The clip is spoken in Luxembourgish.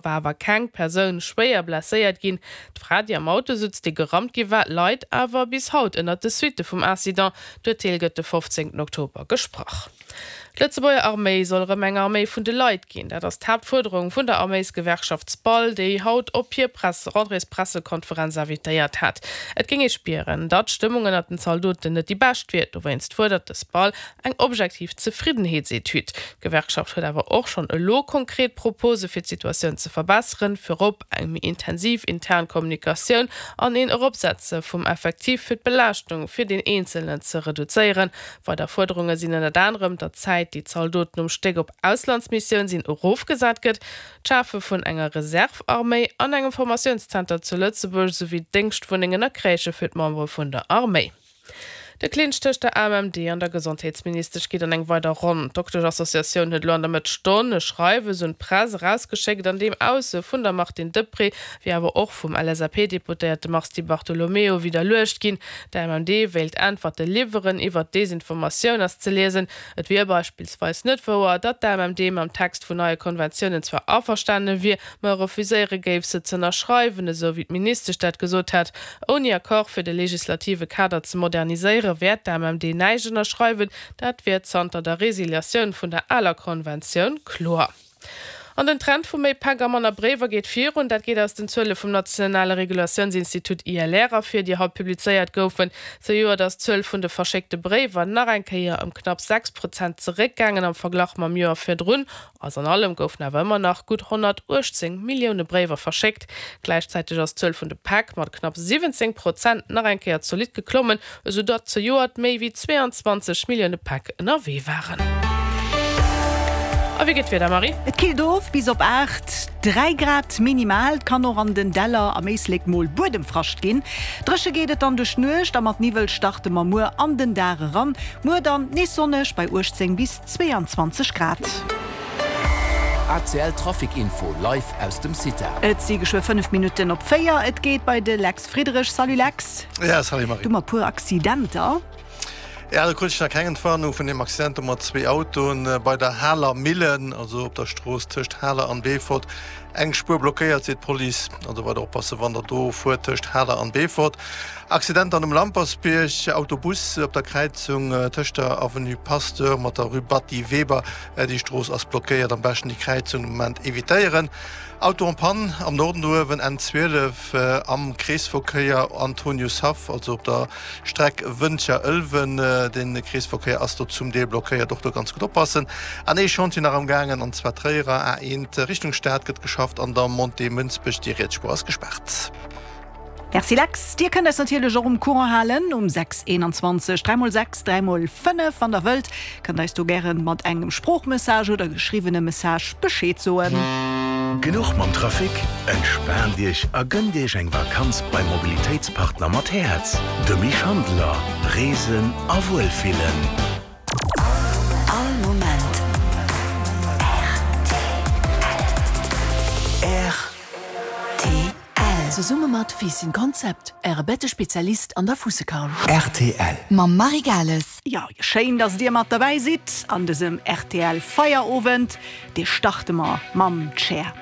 War awer keng Persoun schwéier blesséiert ginn. D'Fra, déi am Auto sutz, dee gerammt gi war, leit awer bis haut ënnert de Suitte vum Incident. D'Urteel gëtt de 15 Oktober gesprach. D'Lëtzebuerger Arméi soll erëm eng Arméi vun de Leit ginn. Dat ass d'Haaptfuerderung vun der Arméisgewerkschaft SPAL, déi haut op hir Presse-Rentréespressekonferenz invitéiert hat. Et géing ee spieren, datt d'Stëmmung ënnert den Zaldoten net déi bescht wier. Dowéinst fuerdert de SPAL Eng objektiv Zefriddenheetsetüd. D'Gewerkschaft huet awer och schonn elo konkret Propose fir d'Situatioun ze verbesseren, virop eng méi intensiv intern Kommunikatioun an een Eropsetze vum Effektiv fir d'Belaaschtung fir deen Eenzelnen ze reduzéieren. Weider Fuerderunge sinn ënnert anerem, datt d'Zäit, déi d'Zaldoten um Stéck op Auslandsmissioun sinn, erofgesat gëtt, d'Schafe vun enger Reserve-Arméi an engem Formatiounszenter zu Lëtzebuerg, esouwéi Déngschtwunnengen a Crèchë fir d'Membere vun der Arméi. De Clinch tëscht der AMMD an der Gesondheetsministesch geet an eng weider Ronn. D'Dokteschassociatioun huet elo an der Mëtt Stonn e Schreiwes un d'Press erausgeschéckt, an deem Ausso vun der Martine Deprez, wéi awer och vum LSAP-Deputéierte Mars Di Bartolomeo widderluecht ginn. D'AMMD wéilt Äntwerte liwweren. Iwwert d'Desinformatioun ass ze liesen, et wier beispillsweis net wouer, datt d'AMMD mam Text vun neie Konventiounen zwar averstane wier, ma refuséiere géif se z'ënnerschreiwen, esou wéi d'Ministesch dat gesot hat. Ouni Accord fir de legislative Kader ze moderniséiere wäert d'AMMD näischt ënnerschreiwen. Dat wier zanter der Resiliatioun vun der aler Konventioun kloer. An den Trend vu méi Päck a manner Bréiwer geet virun. Dat geet aus den Zuele vum nationale Regulatiounsinstitut ILR ervir, déi haut publizéiert goufen. Zejoert ass d'Zuel vun de verschéckte Bréiwer nach eng Kéier ëm knapp 6 Prozent zeréckgaangen am Verglach mam Joer virdrun. Alles an allem goufen awer ëmmer nach gutt 118 Millioune Bréiwer verschéckt. Gläichzäiteg ass d'Zuel vun de Päck mat knapp 17 Prozent nach eng Kéier zolidd geklommen, esou datt zejoert méi wéi 22 Millioune Päck ënnerwee waren. A wéi geet d'Wieder, Marie? Et killt of bis op 8, 3 Grad minimal. Et kann och an den Däller am Éislek mol Buedemfrascht ginn. Dréche geet et dann duerch d'Nuecht a mat Niwwel starte mer muer an den Dag eran. Muer dann nees sonneg bei 18 bis 22 Grad. ACL Trafic Info live aus dem CITA. Et si geschwë 5 Minutten op 4. Et geet bei de Lex Friedrich. Salut Lex. Ja, salut Marie. Du mat puer Accidenter. Ja, do krut ech nach keng Entwarnung vun deem Accident do mat zwee Autoen bei der Haler Millen, also op der Strooss tëscht Haler an Beefort. Eng Spuer blockéiert, seet d'Police. Also weider oppassen, wann der do fuert tëscht Haler an Beefort. Accident dann um Lampersbierg, Autobus op der Kräizung tëscht der Avenue Pasteur mat der Rue Batty Weber. Déi Strooss ass blockéiert, am beschten déi Kräizung de Moment evitéieren. Auto en panne am Norden do uewen, N12 am Kreesverkéier Antoniushaff, also op der Streck Wëntger-Ëlwen. De Kreesverkéier ass do zum Deel blockéiert, och do ganz gutt oppassen. An ee Chantier nach am gaangen, an zwar Tréierer A1 Richtung Stad gëtt geschafft an der Montée Mënsbech, déi riets Spuer ass gespaart. Merci Lex. Dir kënnt eis natierlech och um Courant halen um 6 21 3 mol 6 3 mol 5. Wann der wëllt, kënnt eis do gären mat engem Sproochmessage oder geschriwwene Message Bescheed soen. Genuch mam Trafic? Entspaant Iech a gënnt Iech eng Vakanz beim Mobilitéitspartner mat Häerz, dem Schandeler. Reesen a Wuelfillen. All Moment rtl. Zesumme mat Fiisschen Concept, Äre Bettespezialist an der Fuussekarl. Rtl. Mam Marie Gales. Jo, schéin dass dir mat derbäi sidd an dësem rtl Feierowend. Dee starte mer mam Cher.